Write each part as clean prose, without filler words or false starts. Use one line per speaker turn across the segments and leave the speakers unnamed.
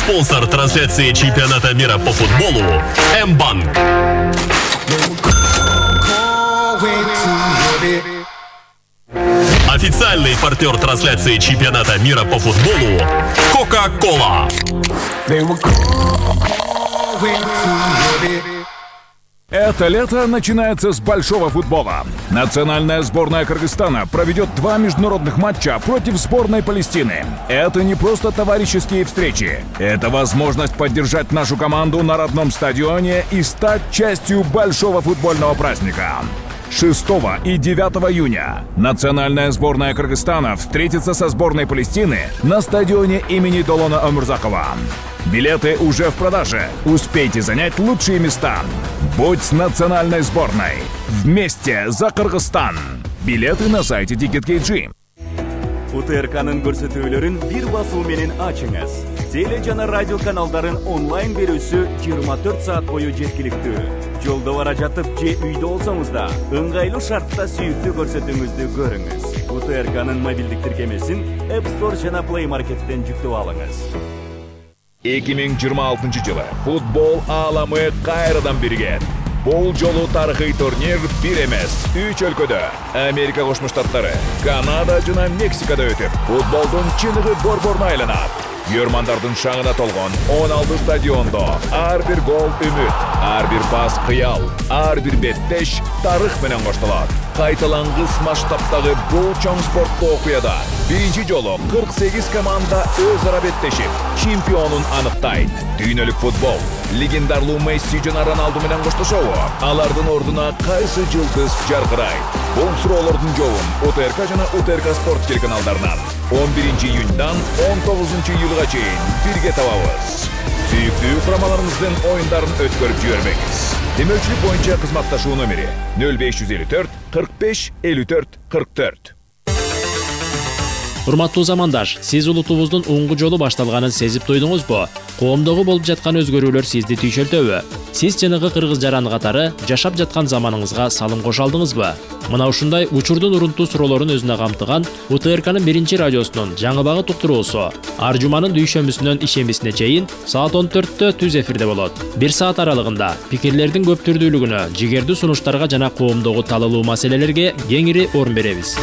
Спонсор трансляции чемпионата мира по футболу М-банк. Официальный партнер трансляции чемпионата мира по футболу Кока-Кола.
Это лето начинается с большого футбола. Национальная сборная Кыргызстана проведет 2 международных матча против сборной Палестины. Это не просто товарищеские встречи. Это возможность поддержать нашу команду на родном стадионе и стать частью большого футбольного праздника. 6 и 9 июня национальная сборная Кыргызстана встретится со сборной Палестины на стадионе имени Долона Омурзакова. Билеты уже в продаже. Успейте занять лучшие места. Будь с национальной сборной. Вместе за Кыргызстан. Билеты на сайте Ticket.kg.
УТРКнын көрсөтүүлөрүн бир басуу менен ачыңыз. Теле жана радио каналдарын онлайн берүүсү 24 саат бою жеткиликтүү. Жолдо бара жатып же үйдө болсоңуз да ыңгайлуу шартта сүйүктүү көрсөтүүңүздү көрүңүз. УТРКнын мобилдик тиркемесин App Store жана Play Market'тен жүктөп алыңыз.
2026 жылы футбол ааламы кайрадан биригет. Бул жолу тарыхый турнир бир эмес, 3 өлкөдө Америка Кошмо Штаттары, Канада жана Мексикада өтүп, футболдун чыныгы борборуна айланат. Көрмандардын шаңына толгон 16 стадиондо ар бир гол үмүт, ар бир пас кыял, ар бир беттеш тарых менен коштолот. Кайталангыс масштабтагы бул чоң спорттуу окуяда биринчи жолу 48 команда өз ара беттешип, чемпионун аныктайт. Дүйнөлүк футбол легендарлуу Месси жана Роналду менен коштошобу? Алардын ордуна кайсы жылдыз жаркырайт? Бул суроолордун жообун УТРК жана УТРК спорт телеканалдарынан 11 июньдан 19 июлга чейин бирге табабыз. Сүйүктүү курамаларыбыздын оюндарын өткөрүп жибербеңиз. Демөчүлүк боюнча кызматташуу номери 0554 45 54 44.
Урматтуу замандаш, сиз улутубуздун уңгу жолу башталганын сезип туйдуңузбу? Коомдогу болуп жаткан өзгөрүүлөр сизди түйшөлтөбү? Сиз чыныгы кыргыз жараны катары жашап жаткан заманыңызга салым кошо алдыңызбы? Мына ушундай учурдун урунтуу суроолорун өзүнө камтыган УТРКнын биринчи радиосунун жаңы багыт уктуруусу ар жуманын дүйшөмбүсүнөн ишембисине чейин саат 14-тө түз эфирде болот. 1 саат аралыгында пикирлердин көп түрдүүлүгүнө, жигердүү сунуштарга жана коомдогу талалуу маселелерге кеңири орун беребиз.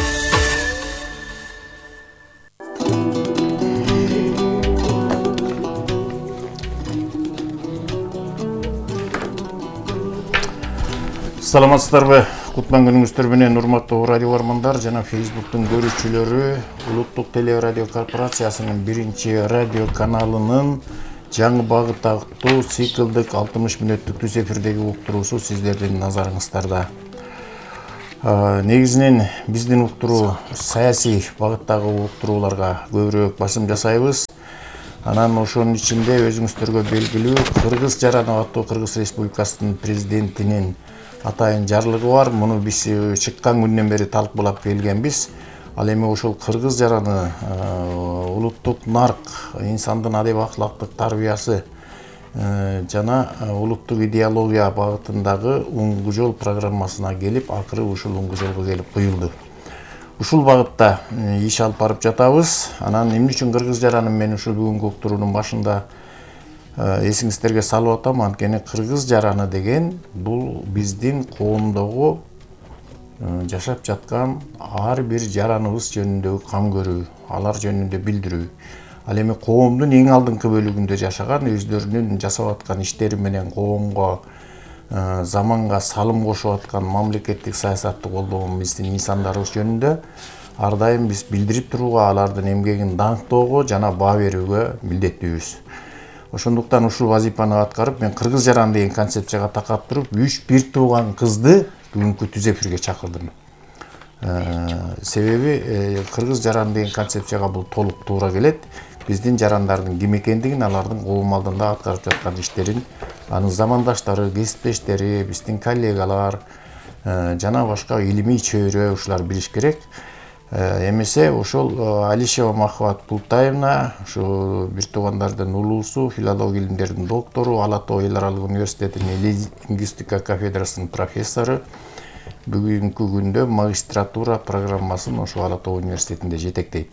Саламатсыздарбы? Кутман күнүңүздөр менен урматтуу радио бармандар жана Facebooktун көрүүчүлөрү. Улуттук телерадио корпорациясынын биринчи радио каналынын жаңы багыт аттуу циклдык 60 мүнөттүк түз эфирдеги уктуруусу сиздердин назарыңыздарда. Негизинен биздин уктуруу саясий багыттагы уктурууларга көбүрөөк басым жасайбыз. Анан ошонун ичинде өзүңүздөргө белгилүү Кыргыз жараны аттуу Кыргыз Республикасынын президентинин атайын жарлыгы бар. Муну биз чыккан күндөн бери талкуулап келгенбиз. Ал эми ошол кыргыз жараны улуттук нарк, инсандын адеп акылактык тарбиясы жана улуттук идеология багытындагы уңгу жол программасына келип, акыры ушул уңгу жолго келип куюлду. Ушул багытта иш алып барып жатабыз. Анан эмне үчүн кыргыз жараны мен ушул бүгүнкү уктуруунун башында эсиңиздерге салып атам, анткени кыргыз жараны деген бул биздин коомдогу жашап жаткан ар бир жараныбыз жөнүндөгү кам көрүү, алар жөнүндө билдирүү. Ал эми коомдун эң алдыңкы бөлүгүндө жашаган, өздөрүнүн жасап аткан иштери менен коомго, заманга салым кошуп аткан мамлекеттик саясатты колдогон биздин инсандарыбыз жөнүндө ар дайым биз билдирип турууга, алардын эмгегин даңктоого жана баа берүүгө милдеттүүбүз. Ошондуктан ушул вазифаны аткарып, мен кыргыз жараны деген концепцияга такап туруп, 3 бир тууган кызды бүгүнкү түз эфирге чакырдым. Себеби кыргыз жараны деген концепцияга бул толук туура келет. Биздин жарандардын ким экендигин, алардын коом алдында аткарып жаткан иштерин, анын замандаштары, кесиптештери, биздин коллегалар жана башка илимий чөйрө ушулар билиш керек. Эмесе ошол Алишева Махват Пултаевна, ушу бир туугандардын улуусу, филология илимдеринин доктору, Ала Тоо эл аралык университетинин лингвистика кафедрасынын профессору, бүгүнкү күндө магистратура программасын ошо Ала Тоо университетинде жетектейт.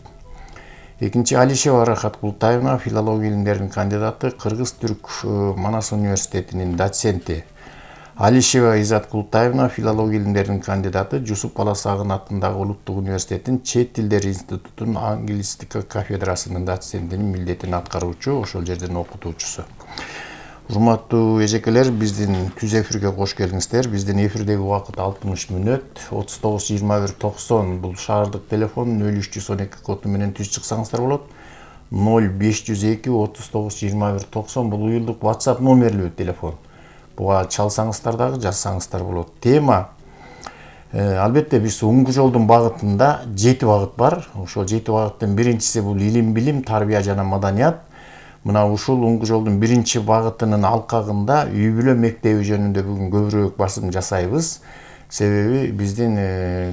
Экинчи Алишева Рахат Култаевна, филология илимдеринин кандидаты, Кыргыз-Түрк Манас университетинин доценти. Алишева Изат Култаевна, филология илимдеринин кандидаты, Жусуп Баласагын атындагы Улуттук университеттин Чет тилдер институтунун англистика кафедрасынын доцентинин милдетин аткаруучу, ошол жерден окутуучусу. Урматтуу эжекелер, биздин түз эфирге кош келиңиздер. Биздин эфирдеги убакыт 60 мүнөт. 39-21-90 бул шаардык телефон 0312 коду менен түз чыксаңыздар болот. 0502-39-21-90 бул уюлдук WhatsApp номерлүү телефон. Буга чалсаңыздар дагы жазсаңыздар болот. Тема албетте биз оңгу жолдун багытында 7 багыт бар. Ошол 7 багыттын биринчиси бул илим, билим, тарбия жана маданият. Мына ушул оңгу жолдун биринчи багытынын алкагында үй бүлө мектеби жөнүндө бүгүн көбүрөөк басым жасайбыз. Себеби биздин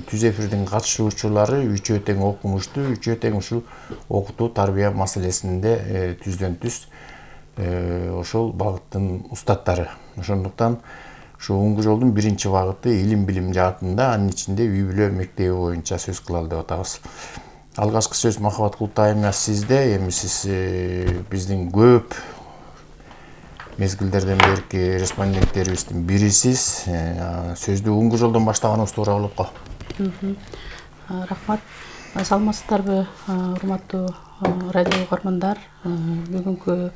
түз эфирдин катышуучулары үчөө тең окумуштуу, үчөө тең ушул окутуу, тарбия маселесинде түздөн түз ошол багыттын устаттары. Ошондуктан ушу оңгу жолдун биринчи багыты илим, билим жаатында, анын ичинде үй бүлө мектеби боюнча сөз кылалы деп атабыз. Алгачкы сөз Махабат Култаевна сизде. Эми сиз биздин көп мезгилдерден берки респонденттерибиздин бирисиз. Сөздү оңгу жолдон баштаганыбыз туура болот го.
Рахмат. Саламатсыздарбы, урматтуу радио угармандар. Бүгүнкү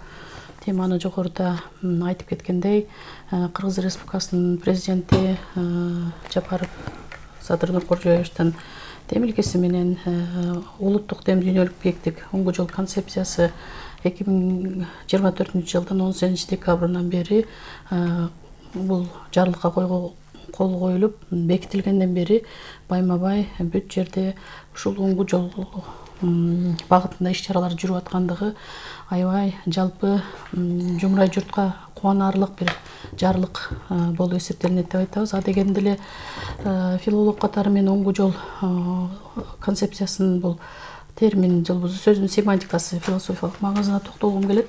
теманы жогоруда айтып кеткендей, Кыргыз Республикасынын президенти Жапаров Садыр Нуркожоевичтин темилгеси менен улуттук дем дүйнөлүк биектик оңгу жол концепциясы 2024 жылдын 18 декабрынан бери бул жарлыкка кол коюлуп бекитилгенден бери байма-бай бүт жерде ушул оңгу жол багытында иш-чаралар жүрүп аткандыгы аябай жалпы жумурай журтка кубанаарлык бир жарлык болуп эсептелинет деп айтабыз. А дегенде эле филолог катары мен оңгу жол концепциясынын бул термин жылбузу сөздүн семантикасы, философиялык маңызына токтолгум келет.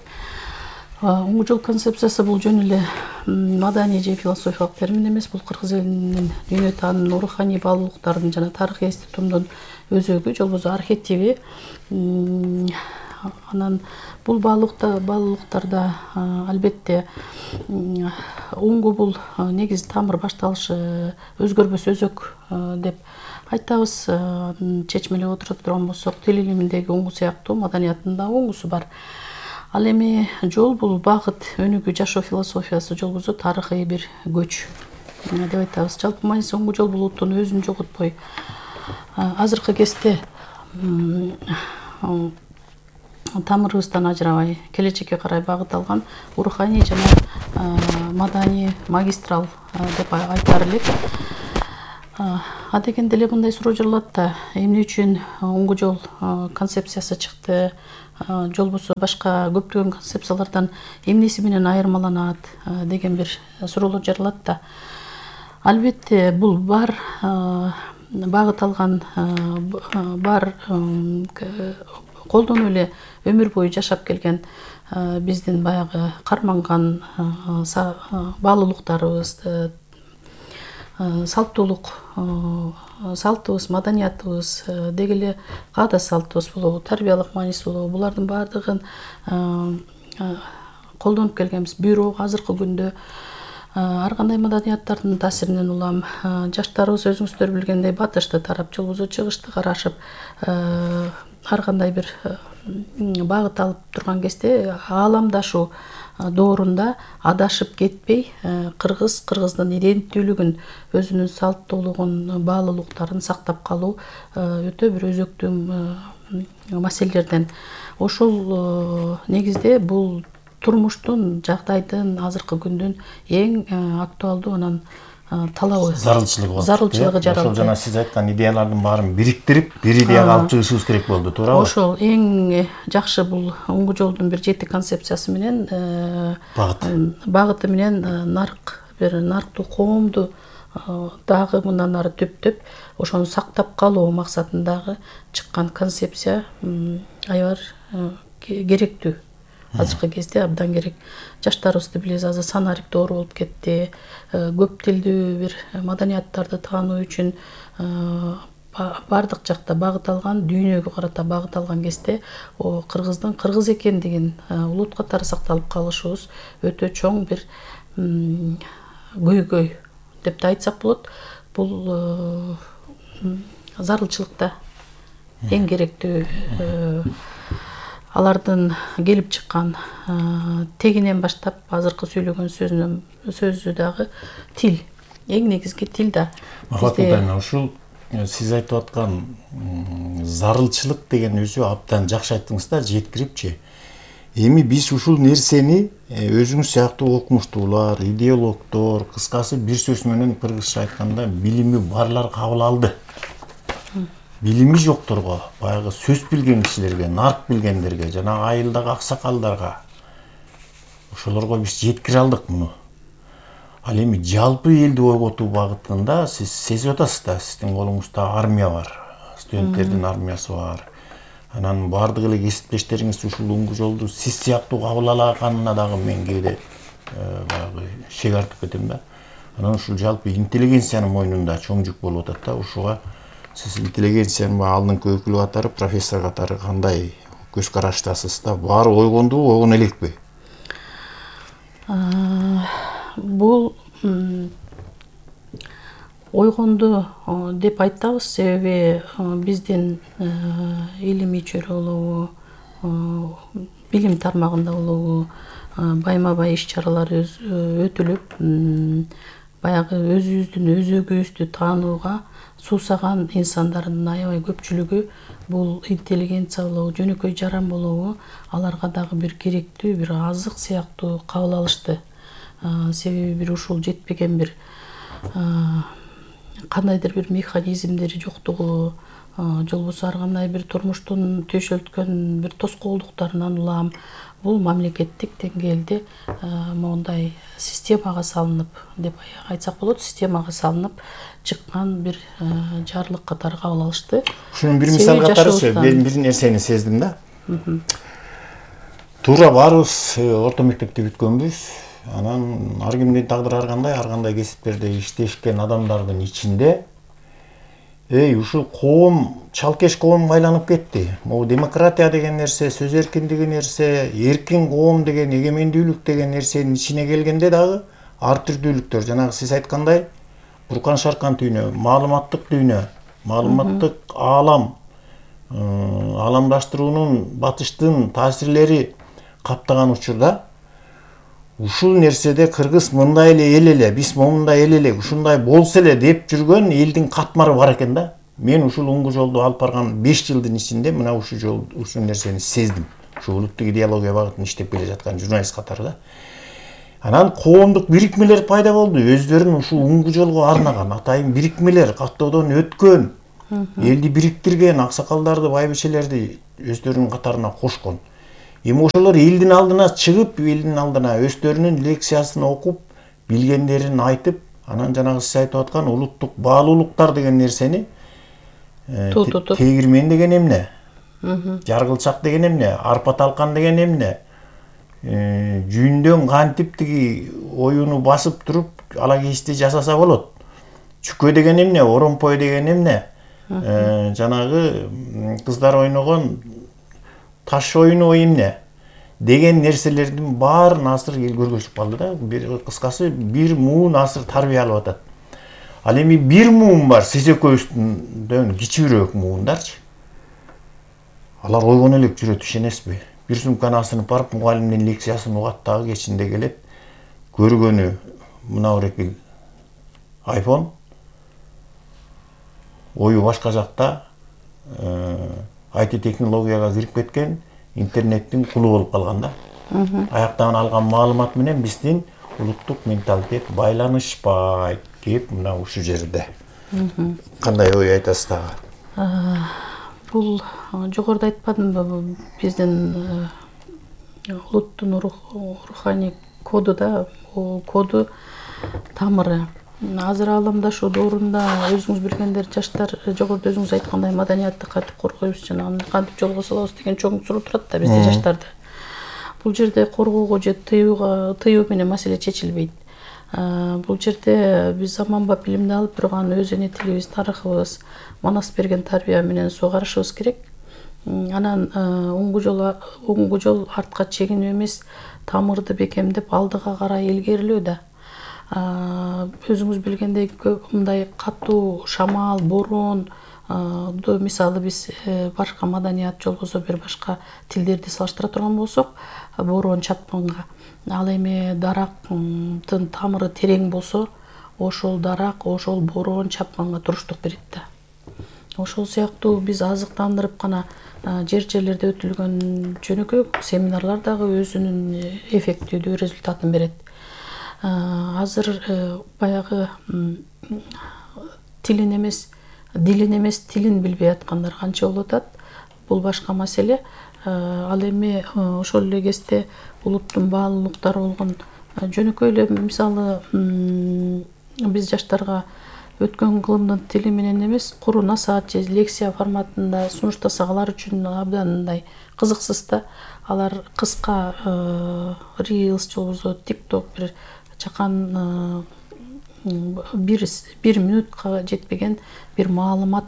Оңгу жол концепциясы бул жөн эле маданий же философиялык термин эмес, бул кыргыз элинин дүйнө таанымын, руханий баалуулуктардын жана тарыхый институтумдун өзөгү, жолбозу архетиби. Анан бул баалуулуктарда албетте оңгу бул негизи тамыр башталышы өзгөрбөс өзөк деп айтабыз. Чечмелеп отура турган болсок, тил илиминдеги оңгу сыяктуу маданияттын да оңгусу бар. Ал эми жол бул багыт, өнүгүү, жашоо философиясы, жолбозу тарыхый бир көч деп айтабыз. Жалпы мааниси оңгу жол бул улуттун өзүн жоготпой азыркы кезде тамырыбыздан ажырабай келечекке карай багыт алган руханий жана маданий магистрал деп айтаар элек. А дегенде эле мындай суроо жаралат да, эмне үчүн оңгу жол концепциясы чыкты, жолбосо башка көптөгөн концепциялардан эмнеси менен айырмаланат деген бир суроолор жаралат да. Албетте бул бар багыт алган, бар колдонуп эле өмүр бою жашап келген биздин баягы карманган баалуулуктарыбыз, салтыбыз, маданиятыбыз, деги эле каада салтыбыз болобу, тарбиялык мааниси болобу, булардын баардыгын колдонуп келгенбиз. Бирок азыркы күндө ар кандай маданияттардын таасиринен улам жаштарыбыз өзүңүздөр билгендей батышты тарап, жолбозу чыгышты карашып, ар кандай бир багыт алып турган кезде ааламдашуу доорунда адашып кетпей, кыргыздын иденттүүлүгүн, өзүнүн салттуулугун, баалуулуктарын сактап калуу өтө бир өзөктүү маселелерден. Ошол негизде бул турмуштун, жагдайдын, азыркы күндүн эң актуалдуу анан талабы, зарылчылыгы жаралды.
Ошол жана сиз айткан идеялардын баарын бириктирип, бир идеяга алып чыгышыбыз керек болду, туурабы?
Ошол эң жакшы бул оңгу жолдун бир 7 концепциясы менен багыты менен нарыктуу коомду дагы мындан ары түптөп ошону сактап калуу максатындагы чыккан концепция аябай керектүү. Азыркы кезде абдан керек. Жаштарыбызды билебиз, азыр санарик доору болуп кетти. Көп тилдүү бир маданияттарды таануу үчүн бардык жакта багыт алган, дүйнөгө карата багыт алган кезде кыргыздын кыргыз экендигин улут катары сакталып калышыбыз өтө чоң бир көйгөй деп да айтсак болот. Бул зарылчылыкта эң керектүү алардын келип чыккан тегинен баштап азыркы сүйлөгөн сөзү дагы тил, эң негизги тил да.
Ушул сиз айтып аткан зарылчылык деген өзү абдан жакшы айттыңыз да, жеткирипчи. Эми биз ушул нерсени өзүңүз сыяктуу окумуштуулар, идеологдор, кыскасы бир сөз менен кыргызча айтканда билими барлар кабыл алды. Билими жокторго, баягы сөз билген кишилерге, нарк билгендерге, жана айылдагы аксакалдарга ошолорго биз жеткире алдык муну. Ал эми жалпы элди ойготуу багытында сиз сезип атасыз да, сиздин колуңузда армия бар, студенттердин армиясы бар. Анан бардык эле кесиптештериңиз ушул уңгу жолду сиз сыяктуу кабыл алаганына дагы мен кээде баягы шек артып кетем да. Анан ушул жалпы интеллигенциянын мойнунда чоң жүк болуп атат да. Ушуга сиз интеллигенциянын алдыңкы өкүлү катары, профессор катары кандай көз караштасыз да? Баары ойгондубу, ойгоно элекпи?
Бул ойгонду деп айтабыз, себеби биздин илимий чөйрө болобу, билим тармагында болобу байма-бай иш-чаралар өтүлүп, баягы өзүбүздүн өзөгүбүздү таанууга суусаган инсандардын аябай көпчүлүгү бул интеллигенция болобу, жөнөкөй жаран болобу, аларга дагы бир керектүү бир азык сыяктуу кабыл алышты. Себеби бир ушул жетпеген бир кандайдыр бир механизмдери жоктугу, же болбосо ар кандай бир турмуштун төшөлткөн бир тоскоолдуктарынан улам бул мамлекеттик деңгээлде мондай системага салынып деп айтсак болот, системага салынып чыккан бир жарлык катары кабыл алышты.
Ушунун бир мисал катарычы, мен бир нерсени сездим да. Туура баарыбыз орто мектепти бүткөнбүз. Анан ар кимдин тагдыры ар кандай кесиптерде иштешкен адамдардын ичинде ушул коом, чалкеш коомго айланып кетти. Могу демократия деген нерсе, сөз эркиндиги нерсе, эркин коом деген, эгемендүүлүк деген нерсенин ичине келгенде дагы ар түрдүүлүктөр, жанагы сиз айткандай буркан шаркан дүйнө, маалыматтык дүйнө, маалыматтык аалам, ааламдаштыруунун батыштын таасирлери каптаган учурда ушул нерседе кыргыз мындай эле эл эле, биз момундай эл эле, ушундай болсо эле деп жүргөн элдин катмары бар экен да. Мен ушул уңгу жолду алып барган 5 жылдын ичинде мына ушул нерсени сездим. Ушул улуттук идеология багытын иштеп келе жаткан журналист катары да. Анан коомдук бирикмелер пайда болду. Өздөрүн ушул уңгу жолго арнаган атайын бирикмелер каттоодон өткөн, элди бириктирген, аксакалдарды, байбичелерди өздөрүнүн катарына кошкон. Эми ошолор элдин алдына чыгып, элдин алдына өздөрүнүн лекциясын окуп, билгендерин айтып, анан жанагы сиз айтып аткан улуттук баалуулуктар деген нерсени тегирмен деген эмне? Жаргылчак деген эмне? Арпа талкан деген эмне? Жүйүндөн кантип тиги оюну басып туруп, ала кести жасаса болот? Чүкө деген эмне? Оромпой деген эмне? Жанагы кыздар ойногон таш оюну эмне деген нерселердин баарын азыр эл көргөзүп калды да. Бир кыскасы бир муун азыр тарбия алып атат. Ал эми бир муун бар, сиз экөөбүздөн кичүүрөөк муундарчы. Алар ойгоно элек жүрөт, ишенесизби? Бир сумканы асынып барып, мугалимдин лекциясын угат дагы кечинде келет. Көргөнү мына орекил iPhone, ою башка жакта IT технологияга кирип кеткен, интернеттин кулу болуп калган да. Аяктан алган маалымат менен биздин улуттук менталитет байланышпайт деп мына ушул жерде. Кандай ой айтасыз дагы?
Бул жогоруда айтпадымбы, биздин улуттун руханий коду да, коду тамыры. Азыр ааламдашу доорунда өзүңүз билгендер, жаштар жогоруда өзүңүз айткандай маданиятты кантип коргойбуз, жана кантип жолго салабыз деген чоң суроо турат да бизде жаштарда. Бул жерде коргоого же тыюу менен маселе чечилбейт. Бул жерде биз заманбап билимди алып турган өз эне тилибиз, тарыхыбыз, манас берген тарбия менен сугарышыбыз керек. Анан оңгу жол артка чегинүү эмес, тамырды бекемдеп алдыга карай илгерилөө да. Өзүңүз билгендей мындай катуу шамал, борон мисалы биз башка маданият же болбосо бир башка тилдерди салыштыра турган болсок, борон чапканга, ал эми дарактын тамыры терең болсо, ошол дарак, ошол борон чапканга туруштук берет да. Ошол сыяктуу биз азыктандырып гана жерлерде өтүлгөн жөнөкөй семинарлар дагы өзүнүн эффективдүү результатын берет. Азыр баягы дилин эмес тилин билбей аткандар канча болуп атат. Бул башка маселе. Ал эми ошол эле кезде улуттун баалуулуктары болгон жөнөкөй эле мисалы биз жаштарга өткөн кылымдын тили менен эмес, куру насаат же лекция форматында сунуштасак алар үчүн абдан мындай кызыксыз да. Алар кыска Reels же болбосо TikTok бир чакан бир минутка жетпеген бир маалымат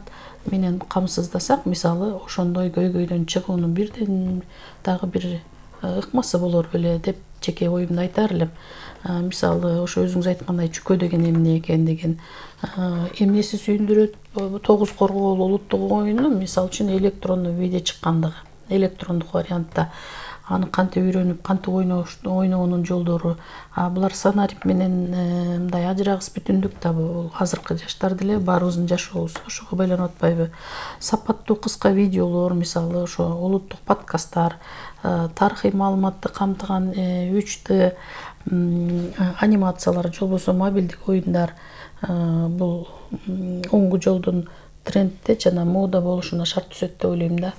менен камсыздасак, мисалы ошондой көйгөйдөн чыгуунун бирден дагы бир ыкмасы болор беле деп жеке оюмду айтар элем. Мисалы ошо өзүңүз айткандай чүкө деген эмне экен деген эмнеси сүйүндүрөт? 9 коргоол улуттук оюну мисалы үчүн электрондуу виде чыккандыгы, электрондук вариантта аны кантип үйрөнүп, кантип ойноонун жолдору. Булар санарип менен мындай ажырагыс бүтүндүк да, бул азыркы жаштар деле баарыбыздын жашообуз ошого байланып атпайбы? Сапаттуу кыска видеолор, мисалы ошо улуттук подкасттар, тарыхый маалыматты камтыган 3D анимациялар же болбосо мобилдик оюндар бул оңгу жолдун трендте жана мода болушуна шарт түзөт деп ойлойм да.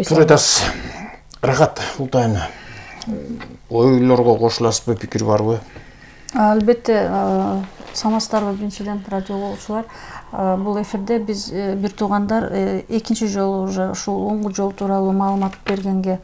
Турайтас. Рахат, Ултайым. Ойлорго кошуласызбы, пикир барбы?
Албетте, саламатсыздарбы биринчиден радио болуучулар. Бул эфирде биз бир туугандар экинчи жолу уже ушул оңгу жол тууралуу маалымат бергенге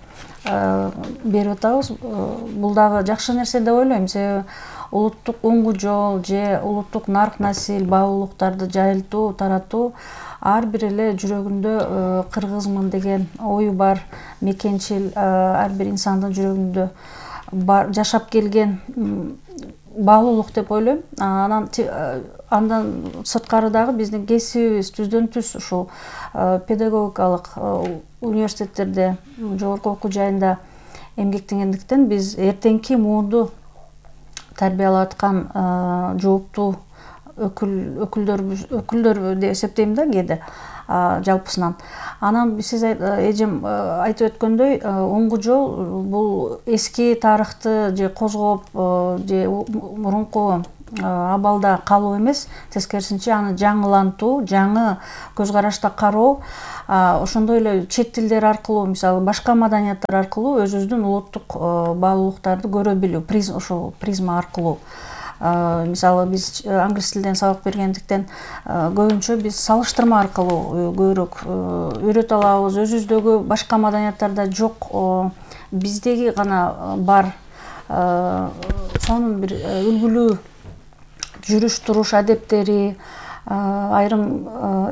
берип атабыз. Бул дагы жакшы нерсе деп ойлойм. Себеби улуттук оңгу жол же улуттук нарк насил баалуулуктарды жайылтуу, таратуу ар бир эле жүрөгүндө кыргызмын деген ою бар, мекенчил ар бир инсандын жүрөгүндө бар, жашап келген баалуулук деп ойлойм. Андан сырткары дагы биздин кесибибиз түздөн түз ушул педагогикалык университеттерде, жогорку окуу жайында эмгектенгендиктен биз эртеңки муунду тарбиялап аткан жооптуу өкүлдөр деп эсептейм да кээде жалпысынан. Анан сиз эжем айтып өткөндөй, оңгу жол бул эски тарыхты же козгоп же мурунку абалда калуу эмес, тескерисинче аны жаңылантуу, жаңы көз карашта кароо, ошондой эле чет тилдер аркылуу, мисалы башка маданияттар аркылуу өзүбүздүн улуттук баалуулуктарды көрө билүү, ошол призма аркылуу. Мисалы биз англис тилден сабак бергендиктен көбүнчө биз салыштырма аркылуу көбүрөөк үйрөтө алабыз. Өзүбүздөгү башка маданияттарда жок, биздеги гана бар сонун бир үлгүлүү жүрүш туруш адептери, айрым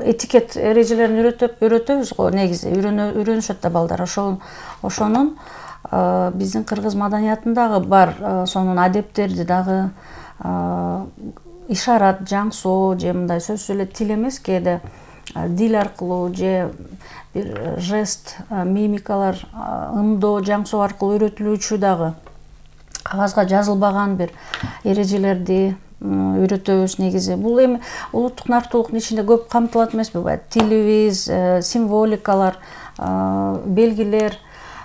этикет эрежелерин үйрөтөбүз го негизи, үйрөнүшөт да балдар. Ошонун биздин кыргыз маданиятындагы бар сонун адептерди дагы ишарат, жаңсоо же мындай сөзсүз эле тил эмес, кээде дил аркылуу же бир жест, мимикалар, ымдоо, жаңсоо аркылуу үйрөтүлүүчү дагы кагазга жазылбаган бир эрежелерди үйрөтөбүз негизи. Бул эми улуттук нарктуулуктун ичинде көп камтылат эмеспи? Тилибиз, символикалар, белгилер,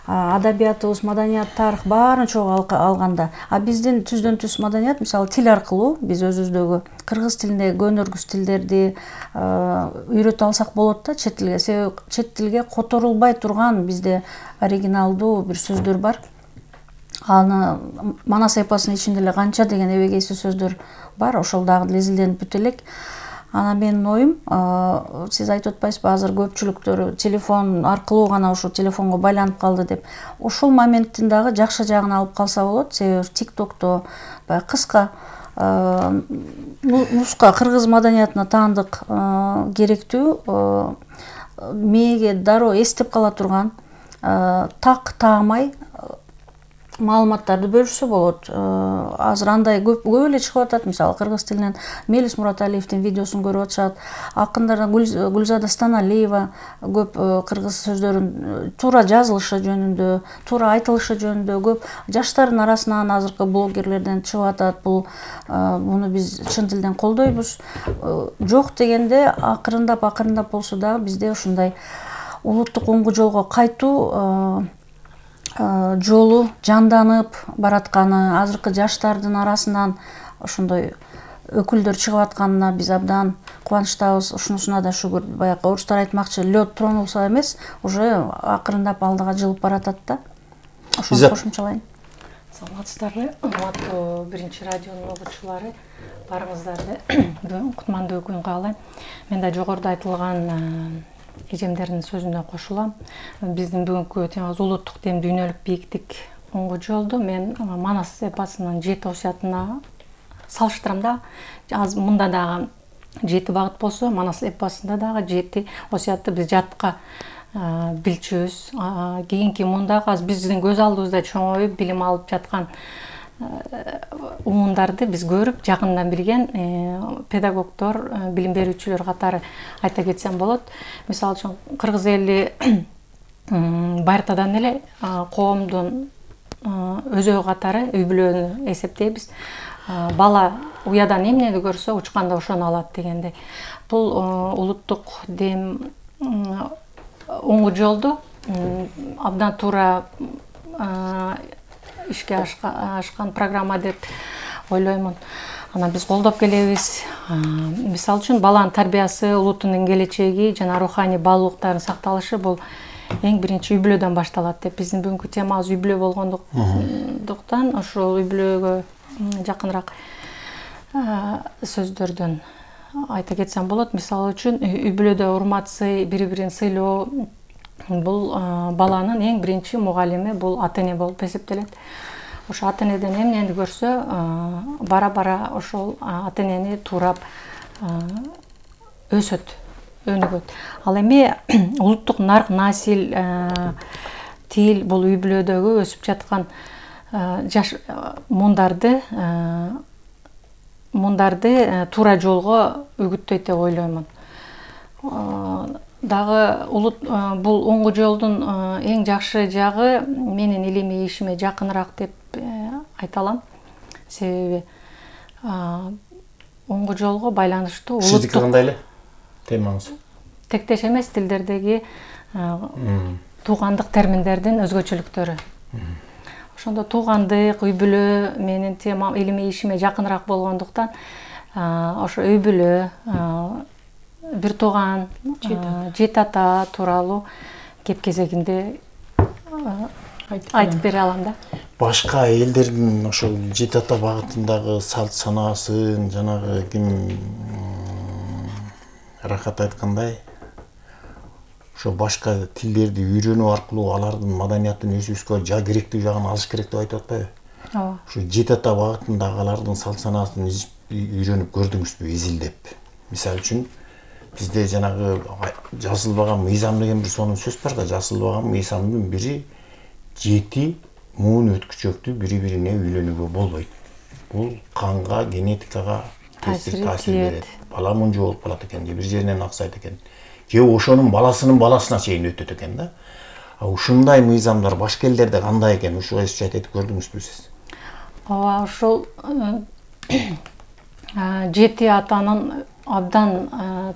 адабиятыбыз, маданият, тарых баарын чогуу алганда, биздин түздөн түз маданият, мисалы тил аркылуу биз өзүбүздөгү кыргыз тилиндеги көнөргүс тилдерди үйрөтө алсак болот да чет тилге. Себеби чет тилге которулбай турган бизде оригиналдуу бир сөздөр бар. Аны манас эпосунун ичинде эле канча деген эбегейсиз сөздөр бар, ошол дагы изилденип бүтө элек. Анан менин оюм, сиз айтып атпайсызбы, азыр көпчүлүктөр телефон аркылуу гана ушу телефонго байланып калды деп. Ошол моменттин дагы жакшы жагын алып калса болот. Себеби TikTok'то баягы кыска нуска кыргыз маданиятына таандык керектүү, мээге дароо эстеп кала турган, так таамай маалыматтарды бөлүшсө болот. Азыр андай көп эле чыгып атат. Мисалы кыргыз тилинен Мелис Мураталиевдин видеосун көрүп атышат. Акындардан Гүлзада Станалиева көп кыргыз сөздөрүн туура жазылышы жөнүндө, туура айтылышы жөнүндө көп жаштардын арасынан азыркы блогерлерден чыгып атат. Буну биз чын тилден колдойбуз. Жок дегенде акырындап болсо дагы бизде ушундай улуттук оңгу жолго кайтуу жолу жанданып баратканы, азыркы жаштардын арасынан ошондой өкүлдөр чыгып атканына биз абдан кубанычтабыз. Ушунусуна да шүгүр. Баягы орустар айтмакчы, лёд тронулса эмес, уже акырындап алдыга жылып баратат да. Ошону кошумчалайын.
Саламатсыздарбы, урматтуу биринчи радионун угуучулары, баарыңыздарды бүгүн кутмандуу күн каалайм. Мен да жогоруда айтылган эжемдердин сөзүнө кошулам. Биздин бүгүнкү темабыз улуттук дем дүйнөлүк бийиктик оңгу жолду. Мен Манас эпосунун 7 осуятына салыштырам да. Азыр мында дагы 7 багыт болсо, Манас эпосунда дагы 7 осуятты биз жатка билчүбүз. Кийинки мундагы биздин көз алдыбызда чоңоюп билим алып жаткан угундарды биз көрүп, жакындан билген педагогдор, билим берүүчүлөр катары айта кетсем болот. Мисалы үчүн кыргыз эли байыртадан эле коомдун өзөгү катары үй бүлөнү эсептейбиз. Бала уядан эмнени көрсө, учканда ошону алат дегендей. Бул улуттук дем оңгу жолду абдан туура ишке ашкан программа деп ойлоймун. Анан биз колдоп келебиз. Мисалы үчүн баланын тарбиясы, улуттун келечеги жана руханий баалуулуктардын сакталышы бул эң биринчи үй бүлөдөн башталат деп. Биздин бүгүнкү темабыз үй бүлө болгондуктан ошол үй бүлөгө жакыныраак сөздөрдөн айта кетсем болот. Мисалы үчүн үй бүлөдө урмат, сый, бири-бирин сыйлоо бул баланын эң биринчи мугалими, бул ата-эне болуп эсептелет. Ошо ата-энеден эмнени көрсө, бара-бара ошол ата-энени туурап өсөт, өнүгөт. Ал эми улуттук нарк, насил, тил бул үй бүлөдөгү өсүп жаткан жаш мундарды туура жолго үгүттөйт деп ойлоймун. Дагы бул оңгу жолдун эң жакшы жагы менин илимий ишиме жакыныраак деп айта алам. Себеби оңгу жолго байланыштуу улуттук.
Сиздики кандай эле темаңыз?
Тектеш эмес тилдердеги туугандык терминдердин өзгөчөлүктөрү. Ошондо туугандык, үй бүлө менин темам, илимий ишиме жакыныраак болгондуктан ошо үй бүлө, бир тууган, жети ата тууралуу кеп кезегинде айтып бере алам да.
Башка элдердин ошол жети ата багытындагы салт санаасын, жанагы ким Рахат айткандай, ошо башка тилдерди үйрөнүү аркылуу алардын маданиятын өсүүбүзгө керектүү жагын алыш керек деп айтып атпайбы?
Ооба.
Ошо жети ата багытындагы алардын салт санаасын үйрөнүп көрдүңүзбү, изилдеп? Мисалы үчүн бизде жанагы жазылбаган мыйзам деген бир сонун сөз бар да, жазылбаган мыйзамдын бири 7 муун өткүчөктү бири-бирине үйлөнүүгө болбойт. Бул канга, генетикага таасир берет. Бала мунжу болуп калат экен, же бир жеринен аксайт экен. Же ошонун баласынын баласына чейин өтөт экен да. Ушундай мыйзамдар башка элдерде кандай экен? Ушуга айтып көрдүңүзбү сиз?
Ооба, ошол 7 атанын абдан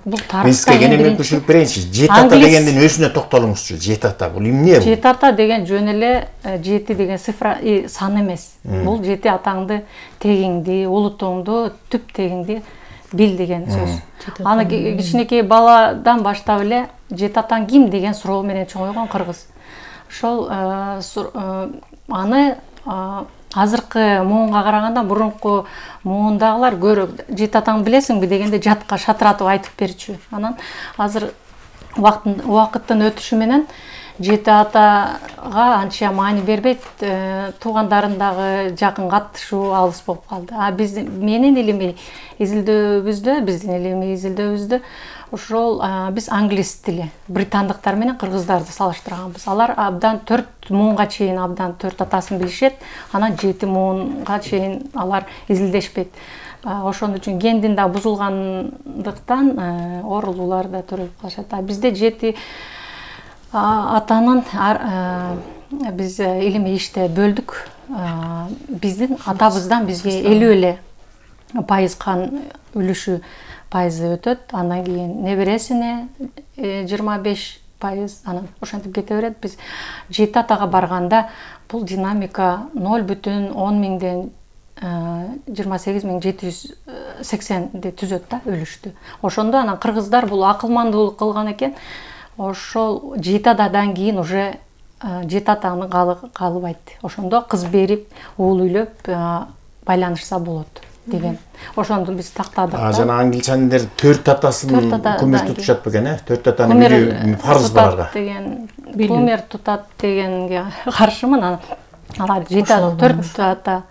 бул тарыхта
бизге кенен түшүрүп берейинчи. 7 ата дегендин өзүнө токтолуңузчу. 7 ата бул эмне?
7 ата деген жөн эле 7 деген цифра сан эмес. Бул 7 атаңды, тегиңди, улутуңду, түп тегиңди бил деген сөз. Аны кичинекей баладан баштап эле 7 атаң ким деген суроо менен чоңойгон кыргыз. Ошол аны азыркы муунга караганда мурунку муундагылар көрө жети атаңды билесиңби дегенде жатка шатыратып айтып берчү. Анан азыр убакыттын өтүшү менен жети атага анча маани бербейт, туугандарын дагы жакын каттышуу алыс болуп калды. Биздин илимий изилдөөбүздө ошол биз англис тили, британдыктар менен кыргыздарды салыштырганбыз. Алар абдан 4 муунга чейин абдан 4 атасын билишет, анан 7 муунга чейин алар изилдешпейт. Ошон үчүн гендин да бузулгандыктан оорулуулар да төрөлүп калышат. Бизде 7 атанын биз илимий иште бөлдүк. Биздин атабыздан бизге 50% кан үлүшү пайызы өтөт, андан кийин небересине 25%, анан ошентип кете берет. Биз 7 атага барганда бул динамика 0,10 28780 түзөт да үлүштү. Ошондо анан кыргыздар бул акылмандуулук кылган экен. Ошол 7 атадан кийин уже 7 атаны калыбайт. Ошондо кыз берип, уул үйлөп байланышса болот деген. Ошондо биз тактадык.
Жана англичандер 4 атасын күмөр тутушат бекен, 4 атаны билүү фарз буларга.
Күмөр тутат дегенге каршымын. Алар 4 ата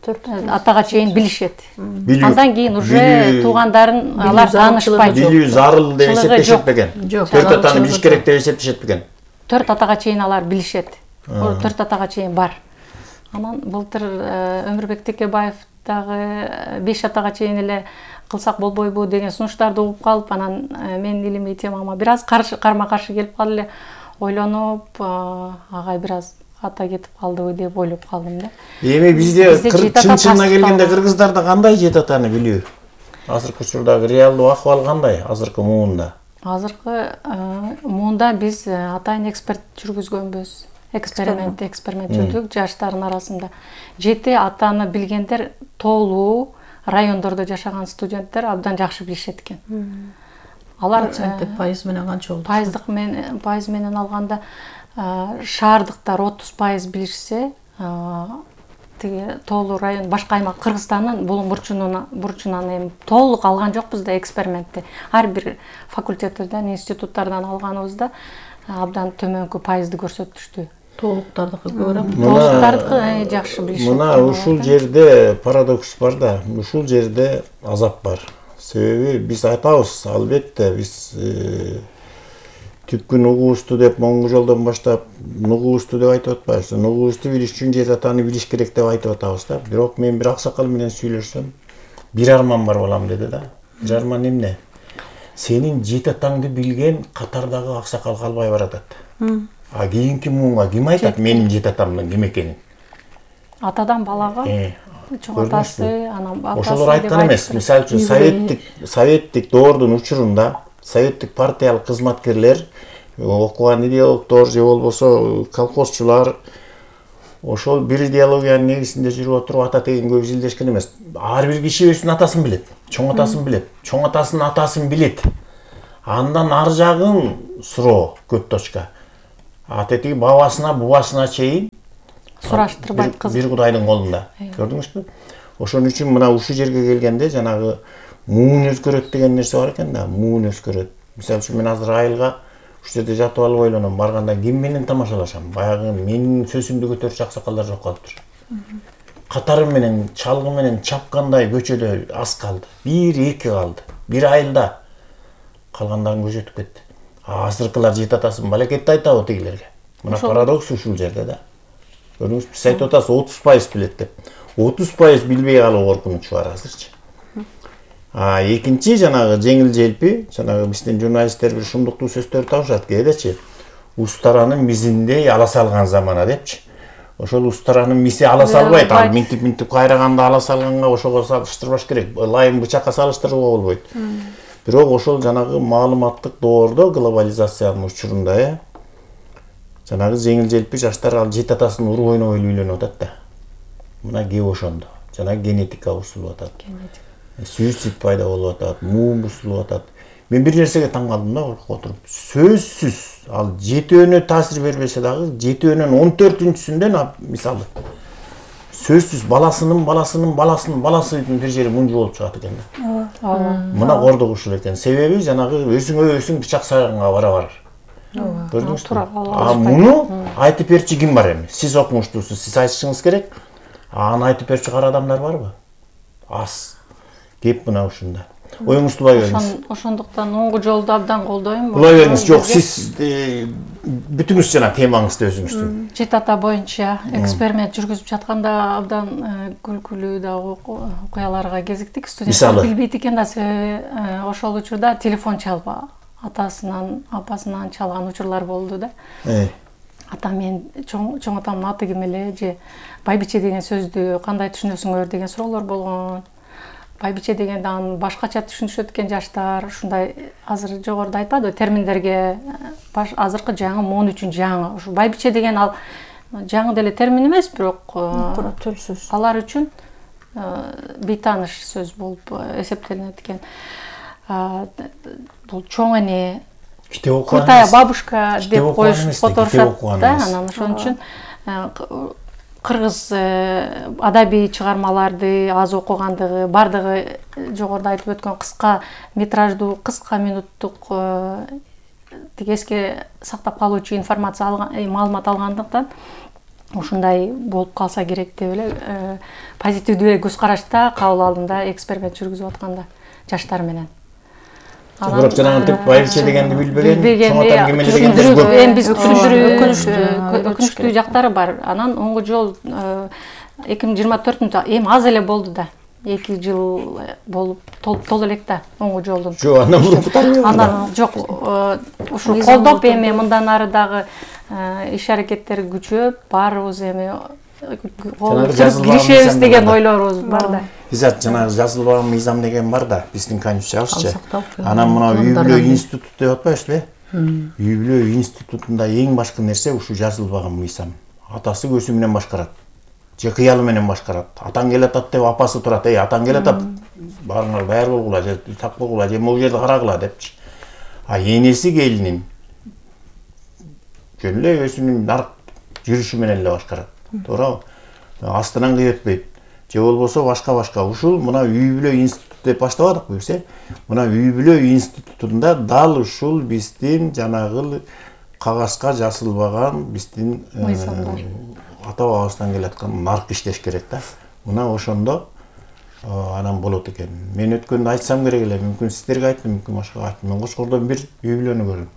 атага чейин билишет. Андан кийин уже туугандарын алар таанышпайт.
Билүү зарыл деп эсептешет бекен. 4 атаны билиш керек деп эсептешет бекен.
4 атага чейин алар билишет. 4 атага чейин бар. Анан былтыр Өмүрбек Текебаев дагы 5 атага чейин эле кылсак болбойбу деген сунуштарды угуп калып, анан менин илимий темама бир аз карма-каршы келип калды эле. Ойлонуп, агай бир аз ата кетип калдыбы деп ойлоп калдым да.
Эми бизде чын-чынына келгенде кыргыздарда кандай 7 атаны билүү? Азыркы учурдагы реалдуу акыбал кандай азыркы муунда?
Азыркы муунда биз атайын эксперт жүргүзгөнбүз. Эксперимент жүрдүк жаштардын арасында. 7 атаны билгендер тоолуу райондордо жашаган студенттер абдан жакшы билишет экен. Алар
пайыз менен канча болду?
Пайыз менен алганда шаардыктар 30% билишсе, тиги тоолуу район башка аймак Кыргызстандын бул бурчунан эми толук алган жокпуз да экспериментти. Ар бир факультеттерден, институттардан алганыбызда абдан төмөнкү пайызды көрсөтүштү.
Толуктардыкы көбүрөөк.
Толуктардыкы жакшы билишет.
Мына ушул жерде парадокс бар да, ушул жерде азап бар. Себеби биз айтабыз, албетте биз түпкү нугубузду деп моңгу жолдон баштап нугубузду деп айтып атпайбыз. Нугубузду билиш үчүн 7 атаны билиш керек деп айтып атабыз да. Бирок мен бир аксакал менен сүйлөшсөм, бир арман бар балам деди да. Бир арман эмне? Сенин 7 атаңды билген катардагы аксакал калбай баратат. Кийинки муунга ким айтат менин 7 атамдын ким экенин?
Атадан балага, чоң атасы, анан апасы.
Ошолор айткан эмес. Мисалы үчүн советтик доордун учурунда советтик партиялык кызматкерлер, окуган идеологдор же болбосо колхозчулар ошол бир идеологиянын негизинде жүрүп отуруп ата тегенге изилдешкен эмес. Ар бир киши өзүнүн атасын билет, чоң атасын билет, чоң атасынын атасын билет. Андан ар жагын суроо көп точка. Атетиги бабасына, бубасына чейин
сураштырбайт кыз.
Бир Кудайдын колунда. Көрдүңүзбү? Ошон үчүн мына ушул жерге келгенде жанагы муун өзгөрөт деген нерсе бар экен да, муун өзгөрөт. Мисалы үчүн мен азыр айылга ушул жерде жатып алып ойлоном, барганда ким менен тамашалашам? Баягы менин сөзүмдү көтөрчү аксакалдар жок калыптыр. Катары менен, чалгы менен чапкандай көчөдө аз калды. 1-2 калды. Бир айылда калгандарын көчөтүп кетти. Азыркылар 7 атасын балекетти айтабы тигилерге. Мына парадокс ушул жерде да. Көрдүңүзбү? Сиз айтып атасыз 30% билет деп. 30% билбей калуу коркунучу бар азырчы. Экинчи жанагы жеңил желпи, жанагы биздин журналисттер бир шумдуктуу сөздөрдү табышат кээдечи. Устаранын мизиндей ала салган замана депчи. Ошол устаранын миси ала салбайт. Ал минтип кайраганда ала салганга ошого салыштырбаш керек. Лайым бычакка салыштырууга болбойт. Бирок ошол жанагы маалыматтык доордо, глобализациянын учурунда жанагы жеңил желпи жаштар ал 7 атасын уруп ойнобой үйлөнүп атат да. Мына кеп ошондо. Жанагы генетика бузулуп атат. Суицид пайда болуп атат, муун бузулуп атат. Мен бир нерсеге таң калдым да отуруп. Сөзсүз ал 7 таасир бербесе дагы 7-14-сүндөн мисалы сөзсүз баласынын баласынын бир жери мунжу болуп чыгат экен да. Мына кордук ушул экен. Себеби жанагы өзүң бычак сайганга барабар. Көрдүңүзбү? Муну айтып берчи ким бар эми? Сиз окумуштуусуз, сиз айтышыңыз керек. Аны айтып берчи кара адамдар барбы? Аз. Кеп мына ушунда. Оюңузду улай бериңиз.
Ошондуктан оңгу жолду абдан колдойм.
Улай бериңиз. Жок, сиз бүтүңүз жана темаңызды өзүңүздүн.
Чет ата боюнча эксперимент жүргүзүп жатканда абдан күлкүлүү да окуяларга кезиктик. Студенттер билбейт экен да, ошол учурда телефон чалып атасынан, апасынан чалган учурлар болду да. Ата мен чоң атамдын аты ким эле же байбиче деген сөздү кандай түшүнөсүңөр деген суроолор болгон. Байбиче дегенди аны башкача түшүнүшөт экен жаштар. Ушундай азыр жогоруда айтпады терминдерге азыркы жаңы моон үчүн жаңы. Ушу байбиче деген ал жаңы деле термин эмес, бирок
төл сөз.
Алар үчүн бейтааныш сөз болуп эсептелинет экен. Бул чоң эне, крутая бабушка деп которушат да, анан ошон үчүн кыргыз адабий чыгармаларды аз окугандыгы, бардыгы жогоруда айтып өткөн кыска метраждуу, кыска минуттук эске сактап калуучу информация маалымат алгандыктан ушундай болуп калса керек деп эле позитивдүү көз карашта кабыл алдым да, эксперимент жүргүзүп атканда жаштар менен.
Бирок жанагынтип байбиче дегенди билбеген, чоң атам ким эле дегенди көп.
Эми биз өкүнүчтүү жактары бар. Анан оңгу жол 2024 эми аз эле болду да. 2 жыл болуп толуп элек да оңгу жолдун.
Жок, андан мурун тарбия.
Анан жок, ушу колдоп эми мындан ары дагы иш аракеттер күчөп, баарыбыз эми киришебиз деген ойлорубуз бар да.
Бизат жанагы жазылбаган мыйзам деген бар да, биздин конституциябызчы. Анан мына үй бүлө институту деп атпайбызбы? Үй бүлө институтунда эң башкы нерсе ушу жазылбаган мыйзам. Атасы көзү менен башкарат. Же кыялы менен башкарат. Атаң келатат деп апасы турат. Атаң келатат. Барыңар даяр болгула, же так болгула, же могу жерде карагыла депчи. Энеси келинин жөн эле өзүнүн нарк жүрүшү менен эле башкарат. Туурабы? Астынан кыйытпайт. Же болбосо башка. Ушул мына үй бүлө институту деп баштабадыкпы биз? Мына үй бүлө институтунда дал ушул биздин жанагы кагазга жазылбаган биздин ата бабабыздан келаткан нарк иштеш керек да. Мына ошондо анан болот экен. Мен өткөндө айтсам керек эле, мүмкүн сиздерге айттым, мүмкүн башкага айттым. Мен Кошкордон бир үй бүлөнү көрдүм.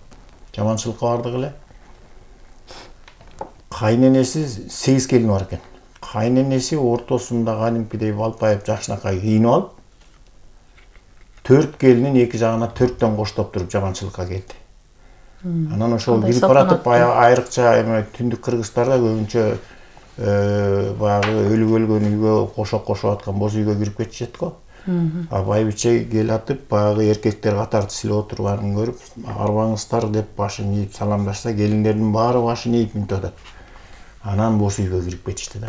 Жаманчылыкка бардык эле. Кайненеси 8 келини бар экен. Кайненеси ортосунда кадимкидей балпайып жакшынакай кийинип алып, 4 келинин эки жагына 4төн коштоп туруп жаманчылыкка келди. Анан ошол кирип баратып айрыкча эме түндүк кыргыздарда көбүнчө баягы өлгөн үйгө кошоп аткан боз үйгө кирип кетишет го. Байбиче келатып баягы эркектер катарды силеп отурганын көрүп, арбаңыздар деп башын ийип саламдашса, келиндердин баары башын ийип мынтип атат. Анан боз үйгө кирип кетишти да.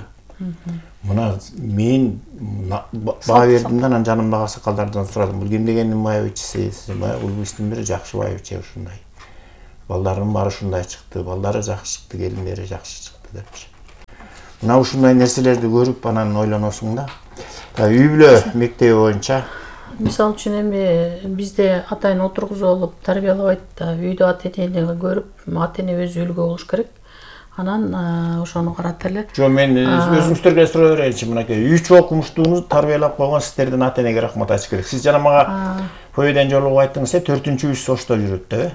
Мына мен баа бердим да, анан жанымдагы аксакалдардан сурадым. Бул ким дегендин байбичеси? Бул биздин бир жакшы байбиче ушундай. Балдарынын баары ушундай чыкты, балдары жакшы чыкты, келиндери жакшы чыкты депчи. Мына ушундай нерселерди көрүп анан ойлоносуң да. Үй бүлө мектеби боюнча
мисалы үчүн эми бизде атайын отургузуп алып тарбиялабайт да, үйдө ата-энени көрүп, ата-эне өзү үлгү болуш керек. Анан ошону карата эле.
Жок, мен өзүңүздөргө суроо берейинчи, мынакей. Үч окумуштууну тарбиялап койгон сиздердин ата-энеге рахмат айтыш керек. Сиз жана мага поеден жолугуп айттыңыз, 4-үч ошто жүрөт да.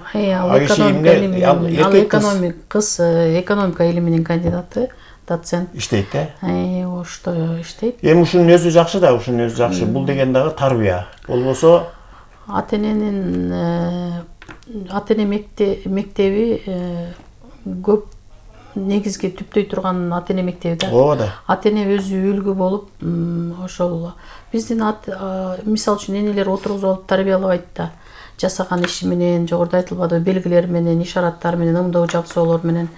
Кыз экономика илиминин кандидаты, доцент.
Иштейт да?
Ошто иштейт.
Эми ушунун өзү жакшы да, ушунун өзү жакшы. Бул деген дагы тарбия. Болбосо
ата-эненин ата-эне мектеби көп негизги түптөй турган ата-эне мектеби да.
Ооба да.
Ата-эне өзү үлгү болуп, ошол биздин мисалы үчүн энелер отургузуп алып тарбиялабайт да. Жасаган иши менен, жогоруда айтылбады, белгилер менен, ишараттар менен, ымдоо жабсоолор менен.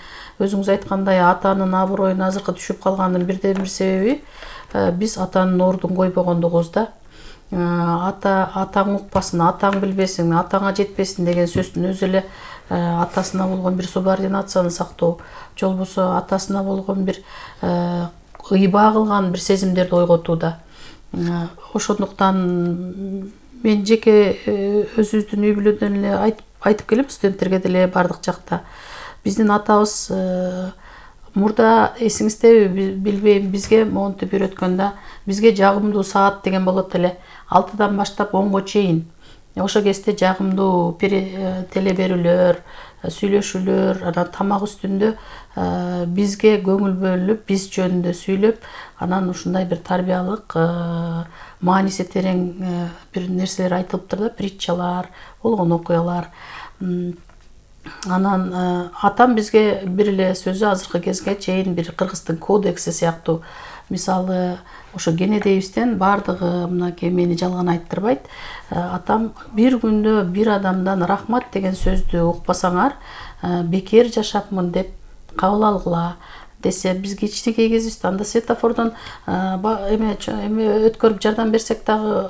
Өзүңүз айткандай, атанын аброюн азыркы түшүп калганын бирден бир себеби биз атанын ордун койбогондугубуз да. Атаң укпасын, атаң билбесин, атаңа жетпесин деген сөздүн өзү эле атасына болгон бир субординацияны сактоо, же болбосо атасына болгон бир ыйбаа кылган бир сезимдерди ойготууда. Ошондуктан мен жеке өзүбүздүн үй бүлөдөн эле айтып келем, студенттерге деле бардык жакта. Биздин атабыз мурда эсиңиздеби билбейм, бизге монтип үйрөткөндө бизге жагымдуу саат деген болот эле. 6-дан баштап 10-го чейин. Ошо кезде жагымдуу теле берүүлөр, сүйлөшүүлөр, анан тамак үстүндө бизге көңүл бөлүнүп, биз жөнүндө сүйлөп, анан ушундай бир тарбиялык, мааниси терең бир нерселер айтылыптыр да, притчалар, болгон окуялар. Анан атам бизге бир эле сөзү азыркы кезге чейин бир кыргыздын кодекси сыяктуу. Мисалы, ошо кенедейибизден бардыгы мынакей мени жалган айттырбайт. Атам бир күндө бир адамдан рахмат деген сөздү укпасаңар, бекер жашапмын деп кабыл алгыла десе, биз кичинекей кезибизде анда светофордон эме өткөрүп жардам берсек дагы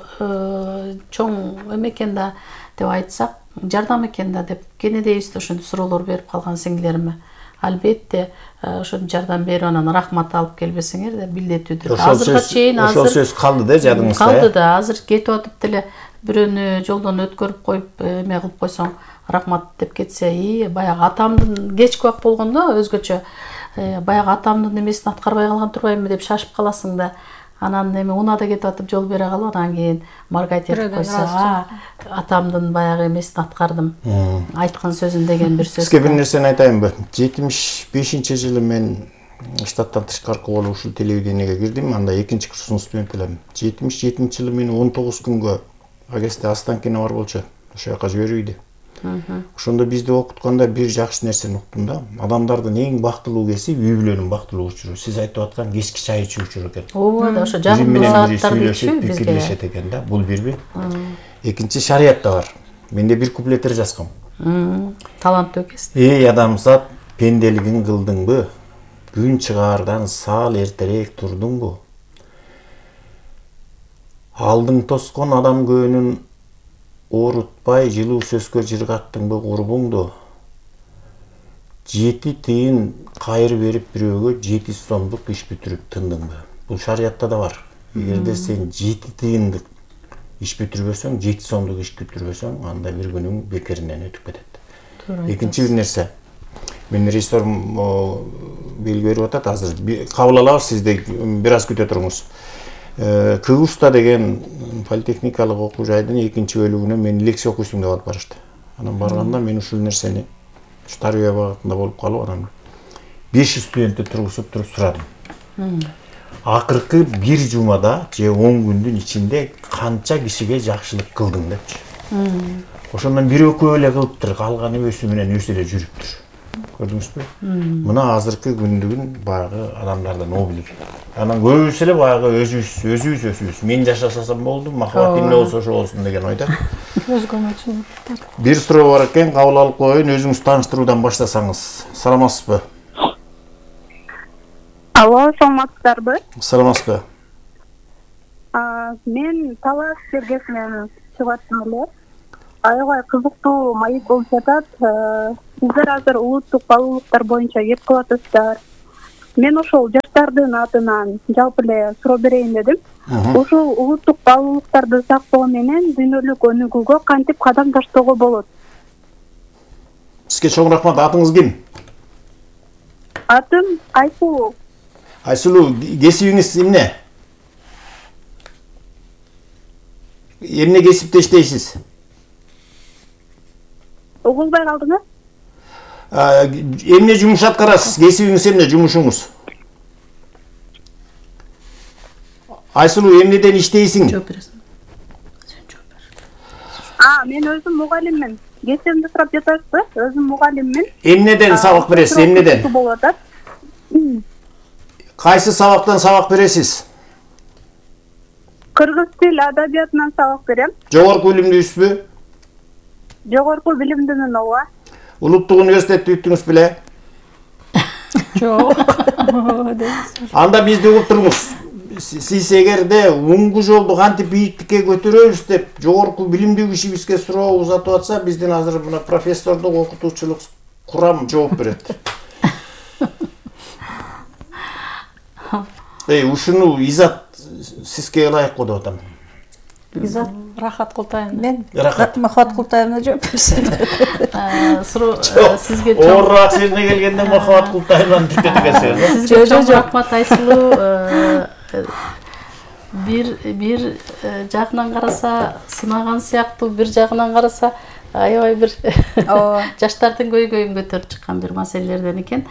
чоң эме экен да деп айтсак, жардам экен да деп кенедейибизде ошентип суроолор берип калган сиңдилериме. Албетте ошентип жардам берип анан рахмат алып келбесеңер да билдетүүдө. Азыркыга чейин
ошол сөз калды да жадыңызда.
Калды да, азыр кетип атып деле бирөөнү жолдон өткөрүп коюп эме кылып койсоң, рахмат деп кетсе, баягы атамдын кечки убак болгондо өзгөчө баягы атамдын эмесин аткарбай калган турбаймынбы деп шашып каласың да. Анан эми унада кетип атып жол бере калып, анан кийин маргайт этип койсо, атамдын баягы эмесин аткардым. Айткан сөзүн деген бир сөз.
Сизге бир нерсени айтайынбы? 75-жылы мен штаттан тышкаркы болуп ушул телевидениеге кирдим. Анда 2-курстун студент элем. 77-жылы мени 19 күнгө агесте Останкино бар болчу. Ошол жака жиберүүйдү. Ошондо бизди окутканда бир жакшы нерсени уктум да. Адамдардын эң бактылуу кеси үй бүлөнүн бактылуу учуру. Сиз айтып аткан кечки чай ичүү учуру экен.
Ооба, ошо жагымдуу сааттарды ичүү бизге
пикирлешет экен да. Бул бирби. Экинчи, шариятта бар. Менде бир куплеттер жазгам.
Таланттуу экенсиз.
Эй адамзат, пенделигин кылдыңбы? Күн чыгаардан саал эртерээк турдуңбу? Алдың тоскон адам көөнүн оорутпай жылуу сөзгө жыргаттыңбы курбуңду? 7 тыйын кайыр берип бирөөгө 7 сомдук иш бүтүрүп тындыңбы? Бул шариятта да бар. Эгерде сен 7 тыйындык иш бүтүрбөсөң, 7 сомдук иш бүтүрбөсөң, анда бир күнүң бекеринен өтүп кетет. Экинчи бир нерсе. Мен режиссерим белги берип атат, азыр кабыл алабыз, сизди бир аз күтө туруңуз. Кыгуста деген политехникалык окуу жайдын 2-чи бөлүгүнө мени лекция окуйсуң деп алып барышты. Анан барганда мен ушул нерсени тарбия багытында болуп калып, анан 500 студентти тургузуп туруп сурадым. Акыркы бир жумада же 10 күндүн ичинде канча кишиге жакшылык кылдың депчи. Ошондон бир экөө эле кылыптыр, калганы өсү менен өсө эле жүрүптүр. Көрдүңүзбү? Мына азыркы күндүгүн баягы адамдардан облик. Анан көбүсү эле баягы өзүбүз. Мен жашасам болду, махабат эмне болсо ошо болсун деген ойда.
Өзгөнө үчүн.
Бир суроо бар экен, кабыл алып коеюн, өзүңүз тааныштыруудан баштасаңыз. Саламатсызбы?
Алло, саламатсыздарбы?
Саламатсызбы?
Мен Талас Сергесинен чыгып аттым эле. Аябай кызыктуу маек болуп жатат. Сиздер азыр улуттук баалуулуктар боюнча кеп кылып атасыздар. Мен ошол жаштардын атынан жалпы эле суроо берейин дедим. Ошол улуттук баалуулуктарды сактоо менен дүйнөлүк өнүгүүгө кантип кадам таштоого болот?
Сизге чоң рахмат. Атыңыз ким?
Атым Айсулуу.
Айсулуу, кесибиңиз эмне? Эмне кесипте иштейсиз?
Угулбай калдыңыз?
Эмне жумуш аткарасыз? Кесибиңиз эмне, жумушуңуз? Айсулуу, эмнеден иштейсиң?
Жооп бересиң.
Мен өзүм мугалиммин. Кесибимди сурап жатасызбы? Өзүм мугалиммин.
Эмнеден сабак бересиз? Эмнеден?
Болуп атат.
Кайсы сабактан сабак бересиз?
Кыргыз тил адабиятынан сабак берем.
Жогорку билимдүүсүзбү?
Жогорку билимдимин, ооба.
Улуттук университетти бүттүңүз беле?
Жок.
Анда бизди угуп туруңуз. Сиз эгерде уңгу жолду кантип бийиктикке көтөрөбүз деп жогорку билимдүү кишибизге суроо узатып атса, биздин азыр мына профессордук окутуучулук курам жооп берет. Ушуну Изат сизге ылайык деп атам.
Изат
Рахат Култаевна.
мен
Рахат.
Махат Култаевна жооп берсин.
Сизге
Оорураак жерине келгенде Махат Култаевнаны деп кеткенсиз.
Сизге чоң рахмат Айсулуу. Бир жагынан караса сынаган сыяктуу, бир жагынан караса аябай бир жаштардын көйгөйүн көтөрүп чыккан бир маселелерден экен.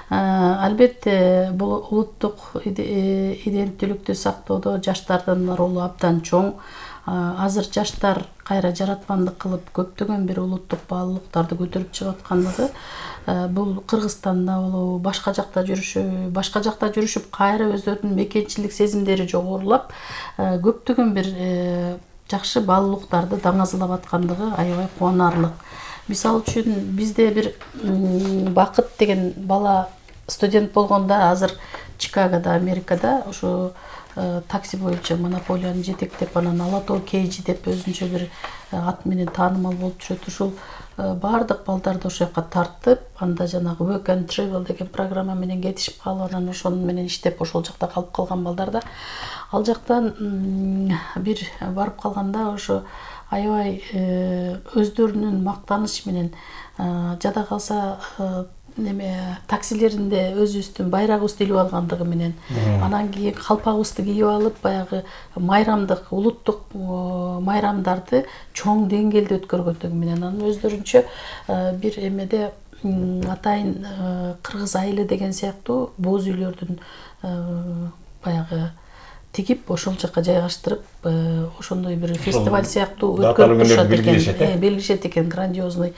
Албетте бул улуттук иденттүүлүктү сактоодо жаштардын ролу абдан чоң. Азыр жаштар кайра жаратмандык кылып көптөгөн бир улуттук баалуулуктарды көтөрүп чыгып аткандыгы бул Кыргызстанда болобу, башка жакта жүрүшүп кайра өздөрүнүн мекенчилик сезимдери жогорулап, көптөгөн бир жакшы баалуулуктарды даңазалап аткандыгы аябай кубанарлык. Мисалы үчүн бизде бир Бакыт деген бала студент болгондо азыр Чикагода, Америкада ушу такси боюнча монополияны жетектеп, анан Алатоо Кейжи деп өзүнчө бир ат менен таанымал болуп жүрөт. Ушул баардык балдарды ошол жака тартып, анда жанагы Work and Travel деген программа менен кетишип калып, анан ошонун менен иштеп ошол жакта калып калган балдарда ал жактан бир барып калганда ошо аябай өздөрүнүн мактаныш менен жада калса таксилеринде өзүбүздүн байрагыбызды илип алгандыгы менен, анан кийин калпагыбызды кийип алып, баягы майрамдык, улуттук майрамдарды чоң деңгээлде өткөргөндүгү менен, анан өздөрүнчө бир эмеде атайын кыргыз айылы деген сыяктуу боз үйлөрдүн баягы тигип ошол жака жайгаштырып, ошондой бир фестиваль сыяктуу өткөрүп турушат экен, белгилешет экен, грандиозный.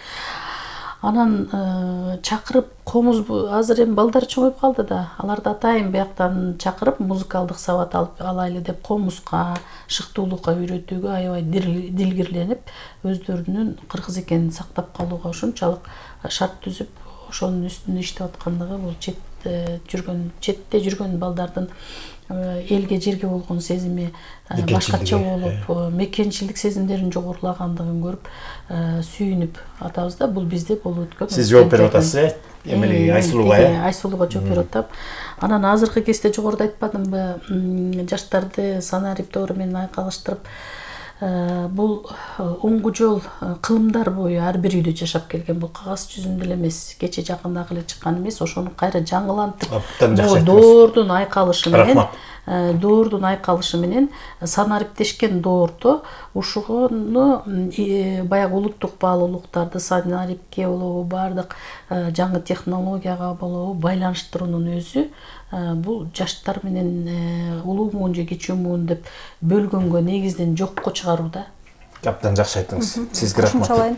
Анан чакырып комуз, азыр эми балдар чоңоюп калды да, аларды атайын бияктан чакырып музыкалдык сабат алайлы деп комузга, шыктуулукка үйрөтүүгө аябай дилгирленип, өздөрүнүн кыргыз экенин сактап калууга ушунчалык шарт түзүп, ошонун үстүнө иштеп аткандыгы бул четте жүргөн балдардын элге жерге болгон сезими башкача болуп, мекенчилдик сезимдеринин жогорулагандыгын көрүп, сүйүнүп атабыз да. Бул бизде болуп өткөн.
Сиз жооп берип атасыз, эмелеги Айсулууга,
Айсулууга жооп берип атам. Анан азыркы кезде жогоруда айтпадымбы, жаштарды санарип менен айкалыштырып, бул оңгу жол кылымдар бою ар бир үйдө жашап келген. Бул кагаз жүзүндө эле эмес, кече жакында эле чыккан эмес, ошону кайра жаңылантып, доордун айкалышы менен санариптешкен доордо ушуну баягы улуттук баалуулуктарды санарипке болобу, баардык жаңы технологияга болобу байланыштыруунун өзү бул жаштар менен улуу муун же кичүү муун деп бөлгөнгө негизден жокко чыгарууда.
Абдан жакшы айттыңыз. Сизге рахмат.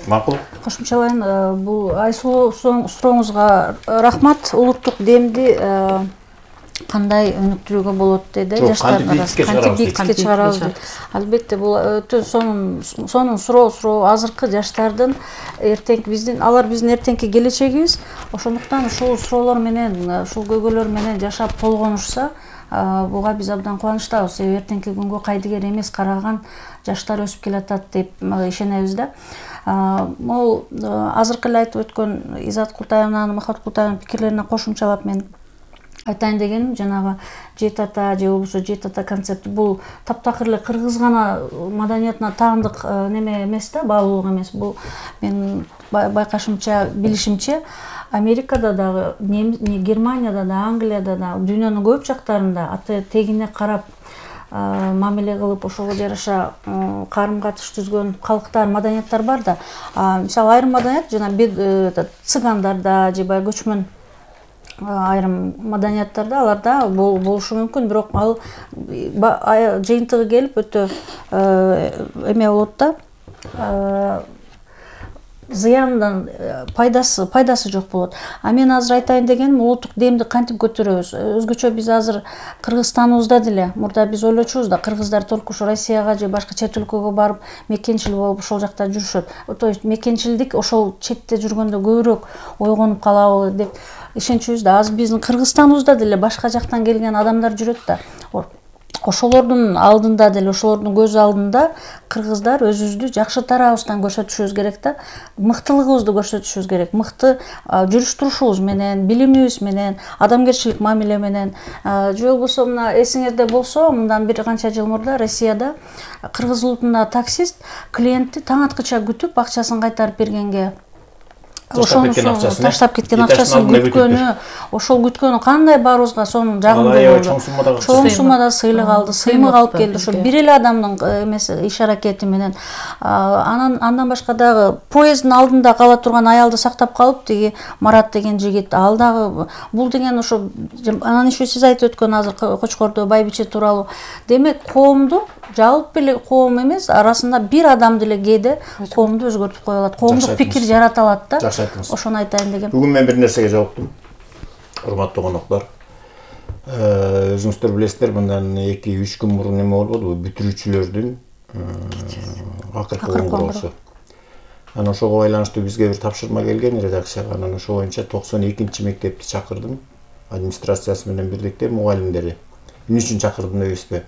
Макул.
Кошумчалайын, бул Айсулуу сурооңузга рахмат. Улуттук демди кандай өнүктүрүүгө болот деди жаштар арасында, кантип бийликке чыгарабыз дейт. Албетте бул өтө сонун суроо. Азыркы жаштардын алар биздин эртеңки келечегибиз. Ошондуктан ушул суроолор менен, ушул көйгөйлөр менен жашап болгонушса, буга биз абдан кубанычтабыз. Себеби эртеңки күнгө кайдыгер эмес караган жаштар өсүп келатат деп ишенебиз да. Могул азыркы эле айтып өткөн Изат Култаевнанын, Махат Култаевнын пикирлерине кошумчалап мен айтайын дегеним, жанагы Жети ата же болбосо Жети ата концепти бул таптакыр эле кыргыз гана маданиятына таандык неме эмес да, баалуулук эмес. Бул мен байкашымча, билишимче Америкада дагы, Германияда да, Англияда да, дүйнөнүн көп жактарында аты тегине карап мамиле кылып, ошого жараша карым-катыш түзгөн калктар, маданияттар бар да. Мисалы айрым маданият жана цыгандарда же баягы көчмөн айрым маданияттарда аларда болушу мүмкүн, бирок ал жыйынтыгы келип өтө эме болот да, зыяндан пайдасы жок болот. Мен азыр айтайын дегеним, улуттук демди кантип көтөрөбүз? Өзгөчө биз азыр Кыргызстаныбызда деле, мурда биз ойлочубуз да, кыргыздар только ушу Россияга же башка чет өлкөгө барып мекенчил болуп ошол жакта жүрүшөт. То есть мекенчилдик ошол четте жүргөндө көбүрөөк ойгонуп калабы деп ишенчүбүз да. Азыр биздин Кыргызстаныбызда деле башка жактан келген адамдар жүрөт да. ошолордун алдында деле, ошолордун көз алдында кыргыздар өзүбүздү жакшы тарабыбыздан көрсөтүшүбүз керек да, мыктылыгыбызды көрсөтүшүбүз керек, мыкты жүрүш турушубуз менен, билимибиз менен, адамгерчилик мамиле менен. Же болбосо мына эсиңерде болсо, мындан бир канча жыл мурда Россияда кыргыз улутунда таксист клиентти таң аткыча күтүп, акчасын кайтарып бергенге таштап кеткен акчасын күткөнү, ошол күткөнү кандай баарыбызга сонун жагымдуу болду. Чоң суммада сыйлык алды, сыймык алып келди. Ошо бир эле адамдын эмеси, иш аракети менен. Андан башка дагы поезддин алдында кала турган аялды сактап калып, тиги Марат деген жигит, ал дагы бул деген ошо анан еще сиз айтып өткөн азыр Кочкордо байбиче тууралуу. Демек, коомду жалпы эле коом эмес, арасында бир адам деле кээде коомду өзгөртүп кое алат, коомдук пикир жарата алат да. Ошону айтайын дегем.
Бүгүн мен бир нерсеге жолуктум. Урматтуу коноктор. Өзүңүздөр билесиздер, мындан 2-3 күн мурун эме болбодубу? Бүтүрүүчүлөрдүн акыркы коңгуроосу. Анан ошого байланыштуу бизге бир тапшырма келген редакцияга. Анан ошо боюнча 92-нчи мектепти чакырдым. Администрациясы менен бирдикте мугалимдери. Эмне үчүн чакырдым дебейсизби?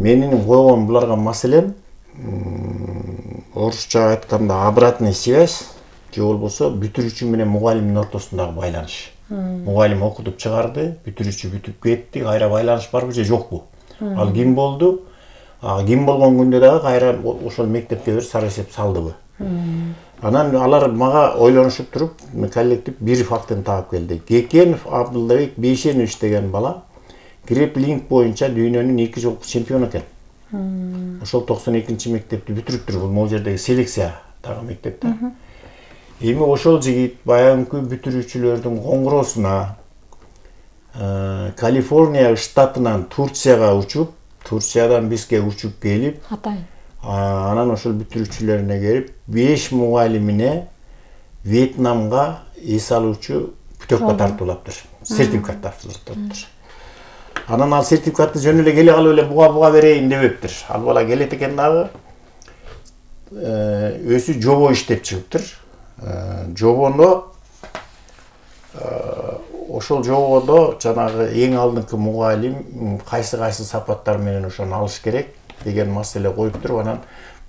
Менин койгон буларга маселем орусча айтканда обратная связь, же болбосо бүтүрүүчү менен мугалимдин ортосундагы байланыш. Мугалим окутуп чыгарды, бүтүрүүчү бүтүп кетти, кайра байланыш барбы же жокпу? Ал ким болду? Ким болгон күндө дагы кайра ошол мектепке бир сары эсеп салдыбы? Анан алар мага ойлонушуп туруп, коллектив бир фактын таап келди. Кекенов Абдуллабек Бейшенович деген бала греплинг боюнча дүйнөнүн 2 жолку чемпиону экен. Ошол 92-нчи мектепти бүтүрүптүр. Бул могу жердеги селекциядагы мектепте. Эми ошол жигит баягы бүтүрүүчүлөрдүн коңгуроосуна Калифорния штатынан Турцияга учуп, Турциядан бизге учуп келип, анан ошол бүтүрүүчүлөрүнө келип 5 мугалимине Вьетнамга эс алуучу путевка тартуулаптыр. Сертификат тартуулаптыр. Анан ал сертификатты жөн эле келе калып эле буга берейин дебептир. Ал бала келет экен дагы өзү жобо иштеп чыгыптыр. Жобондо ошол жободо жанагы эң алдыңкы мугалим кайсы сапаттар менен ошону алыш керек деген маселе коюп туруп, анан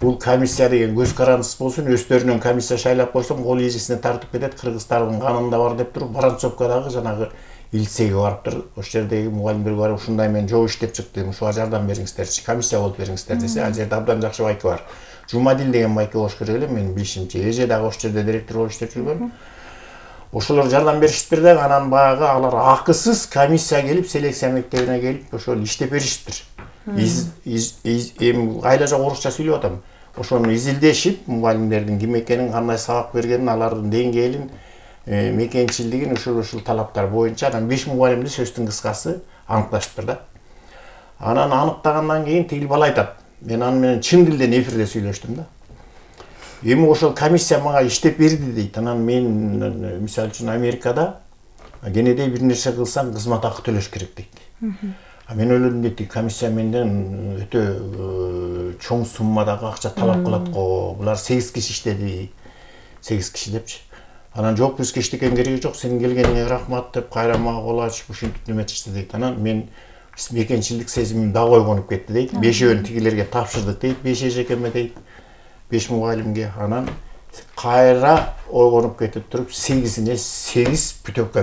бул комиссия деген көз карандысыз болсун, өздөрүнөн комиссия шайлап койсом кол ийжесине тартып кетет, кыргыздардын канында бар деп туруп, Воронцовкадагы жанагы лицейге барыптыр. Ошол жердеги мугалимдерге барып, ушундай мен жол иштеп чыктым, ушуга жардам бериңиздерчи, комиссия болуп бериңиздер десе, ал жерде абдан жакшы байке бар. Жумадил деген байке болуш керек эле, менин билишимче. Эже дагы ошол жерде директор болуп иштеп жүргөн. Ошолор жардам беришиптир да, анан баягы алар акысыз комиссия келип, селекция мектебине келип, ошол иштеп беришиптир. Эми кайла жок орусча сүйлөп атам. Ошону изилдешип, мугалимдердин ким экенин, кандай сабак бергенин, алардын деңгээлин, мекенчилдигин ушул талаптар боюнча анан 5 мугалимди сөздүн кыскасы аныкташтыр да. Анан аныктагандан кийин тигил бала айтат. Мен аны менен чын тилден эфирде сүйлөштүм да. Эми ошол комиссия мага иштеп берди дейт. Анан мен мисалы үчүн Америкада кенедей бир нерсе кылсам кызмат акы төлөш керек дейт. Мен ойлодум дейт, комиссия менден өтө чоң суммадагы акча талап кылат го. Булар 8 киши иштеди. 8 киши депчи. Анан жок, бизге эчтекен кереги жок, сенин келгениңе рахмат деп кайра мага кол ачып ушинтип неметишти дейт. Анан мен мекенчилдик сезимим да койгонуп кетти дейт. 5-өөнү тигилерге тапшырдык дейт, 5 эжекеме дейт, 5 мугалимге. Анан кайра ойгонуп кетип туруп 8-ине 8 путевка